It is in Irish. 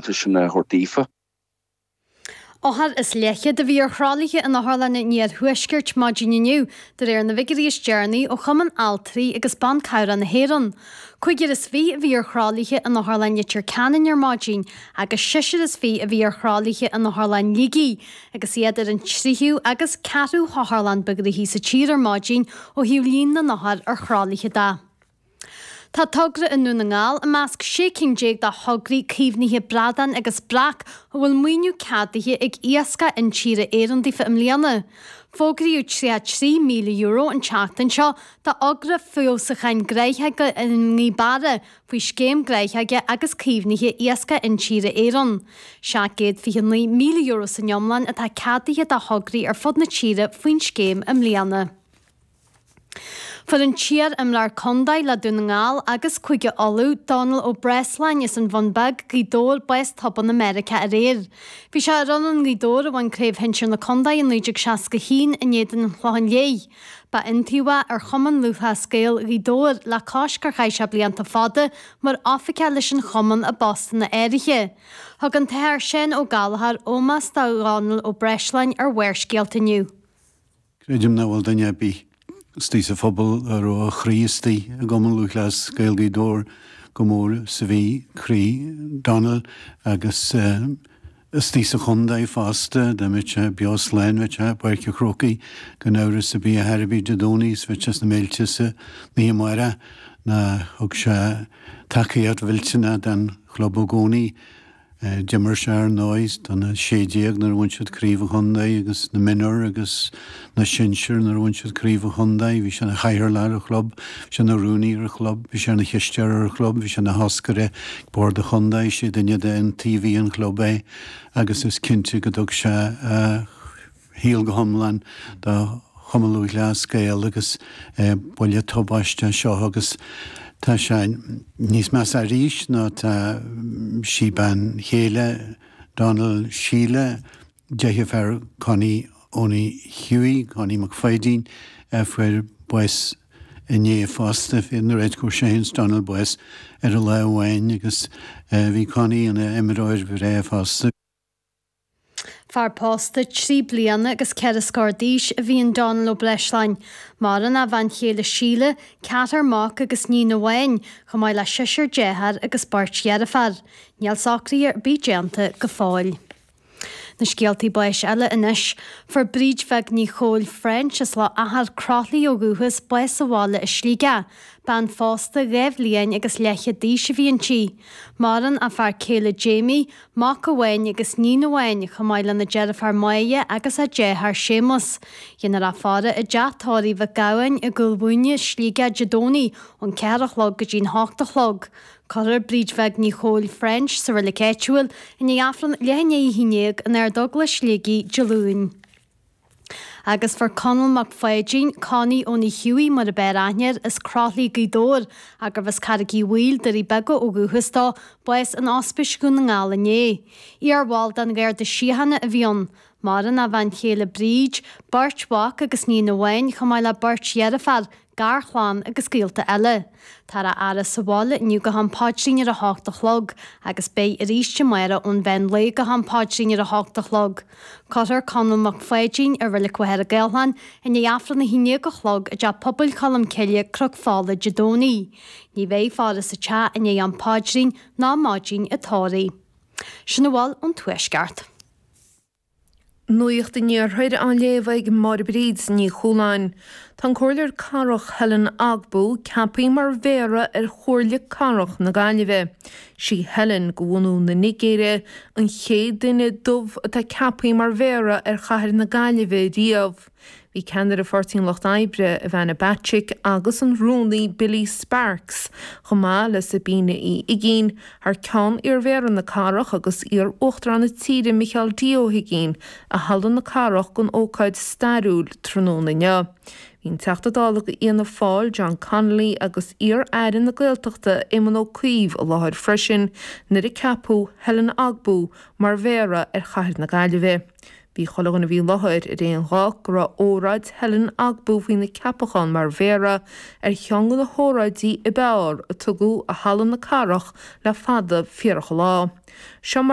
deontais sin a thabhairt daofa. Othar is leathchéad a bhí ar thralaithe in otharlanna an iarthuaiscirt maidin inniu, de réir na bhfigiúirí is deireanaí ó Chumann Altraí agus Ban Cabhrach na hÉireann. 25 a bhí ar thralaithe in Otharlann Leitir Ceanainn ar maidin agus seisear is fiche a bhí ar thralaithe in Otharlann Shligigh, agus iad ar an tríú agus ceathrú hotharlann ba ghnoithí sa tír ar maidin ó thaobh líon na n-othar ar thralaithe de. Tá togra i nDún na nGall i measc 16 cinn de thograí caomhnaithe bradán agus breac a bhfuil maoiniú ceadaithe ag Iascach Intíre Éireann daofa i mbliana. Fógraíodh €33,000 an tseachtain seo do thogra feabhsúcháin gnáthóige i nGaoth Beara faoi Scéim Gnáthóige agus Caomhnaithe Iascach Intíre Éireann. €729,000 san iomlán atá ceadaithe do thograí ar fud na tíre faoin scéim i mbliana. Fuair an t-iar-imreoir contae le Dún na nGall agus Cúige Uladh, Dónal Ó Breisleáin as an Bhun Beag, Gaoth Dobhair, bás tobann i Meiriceá aréir. Bhí sé ar fhoireann Ghaoth Dobhair a bhain Craobh Shinsir na Contae i 1961 in éadan an Chlocháin Léith. Ba iontaobhaí ar Chumann Lúthchleas Gael Ghaoth Dobhair le cois gur chaith sé blianta fada mar oifigeach leis an chumann i bpostanna áirithe. Thug an tAthair Seán Ó Gallchóir ómós do Dhónal Ó Breisleáin ar Bharrscéalta inniu. Creidim nach bhfuil duine ar bith istigh sa phobal a raibh a chroí istigh i gCumann Lúthchleas Gael Ghaoth Dobhair chomh mór is a bhí croí Donal agus istigh sa chontae fosta. Dá mbeadh sé beo slán bheadh sé i bPáirc an Chrócaigh gan amhras ar bith ar chor ar bith Dé Domhnaigh is bheadh sé sna mílte san oíche amárach ná thug sé tacaíocht mhillteanach don chlub i gcónaí. D'imir sé ar ndóigh do na 16 nuair a bhain siad craobh an chontae agus na mionúir agus na sinsir nuair a bhain siad craobh an chontae. Bhí sé ina chathaoirleach ar an chlub, bhí sé ina rúnaí ar an chlub, bhí sé ina chisteoir ar an chlub, bhí sé ina thoscaire ag bord an chontae, sé duine d'iontaobhaithe an chlub é agus is cinnte go dtug sé a shaol go hiomlán do Chumann Lúthchleas Gael agus buille tubaiste seo agus tá sé níos measa arís ná tá sí bean chéile Donal Síle, deirfiúr Connie Owney Hughie, Connie Mac Pháidín, a fuair bás inné fosta. Bhí an oiread fuair sé féin 's Donal bás ar an lá amháin agus bhí Connie ina imreoir bhreá fosta. Fear pósta trí bliana agus ceithre scór d'aois a bhí in Dónal Ó Breisleáin. Maireann a bhean chéile Síle, ceathrar mac agus níon amháin, chomh maith le seisear dearthár agus beirt dheirféar. Níl socruithe ar bith déanta go fóill. Na scéaltaí báis eile anois. Fuair Bríd Bheag Ní Chóill French as Loch Achair, Croithlí ó dhúchas, bás sa bhaile i Sligeach. Bean phósta dhá bhliain agus leathchéad d'aois a bhí inti. Maireann a fear céile Jamie, Mac amháin agus níon amháin, chomh maith lena deirfiúr Máire agus a deartháir Séamus. Déanfar í a fhaire i dteach tórraimh Mhic Gabhann i gCúil Mhúine, Sligeach, Dé Domhnaigh ón 4 a chlog go dtí'n 8 a chlog. Cuirfear Bríd Bheag Ní Chóill French sa reilig áitiúil i ndiaidh Aifreann leath i ndiaidh a 11 in Ard-Eaglais Shligigh Dé Luain. Agus fuair Conall Mac Pháidín, Connie Owney Hughie mar ab fhearr aithne air, as Croithlí, Gaoth Dobhair, ach gurbh as Carraig Uí Bhaoill, Doirí Beaga ó dhúchas dó, bás in Ospís Dhún na nGall inné. Iar-bhall den Gharda Síochána a bhí ann. Maireann a bhean chéile Bríd, beirt mhac agus níon amháin, chomh maith le beirt dheirféar, garchlann agus gaolta eile. Táthar á fhaire sa bhaile inniu go ham paidrín ar a hocht a chlog agus beidh arís amárach ón mheán lae go ham paidrín ar a hocht a chlog. Cuirfear Conall Mac Pháidín i Reilig Mhachaire Gathlán i ndiaidh Aifreann a haon déag a chlog i dTeach Pobail Cholm Cille, Cnoc Fola, Dé Domhnaigh. Ní bheidh faire sa teach i ndiaidh am paidrín ná maidin an tórraimh. Sin a bhfuil ón Tuaisceart. Nuacht an Iarthair á léamh ag Máire Bríd Ní Chualáin. Tá an Comhairleoir Cathrach Helen Ogbu ceaptha mar Mhéara ar Chomhairle Cathrach na Gaillimhe. Sí Helen, de bhunú na Nigéire, an chéad duine dubh atá ceaptha mar Mhéara ar chathair na Gaillimhe riamh. Bhí ceannaire Pháirtí an Lucht Oibre, Ivana Bacik, agus an Rúnaí Billy Sparks, chomh maith le Sabina Uí Uigínn, thar ceann iarMhéara na cathrach agus iar-Uachtarán na tíre Micheál D. Ó hUigínn, i Halla na Cathrach don ócáid stairiúil tráthnóna inniu. Bhí an Teachta Dála d'Fhianna Fáil John Connolly agus iar-Aire na Gaeltachta Éamon Ó Cuív i láthair freisin nuair a ceapadh Helen Ogbu mar Mhéara ar chathair na Gaillimhe. Bhí chuile dhuine a bhí i láthair ar aon ghuth go raibh óráid Helen Ogbu faoina ceapachán mar Mhéara ar cheann de na hóráidí ab fhearr a tugadh i Halla na Cathrach le fada fíorach an lá. Seo mar.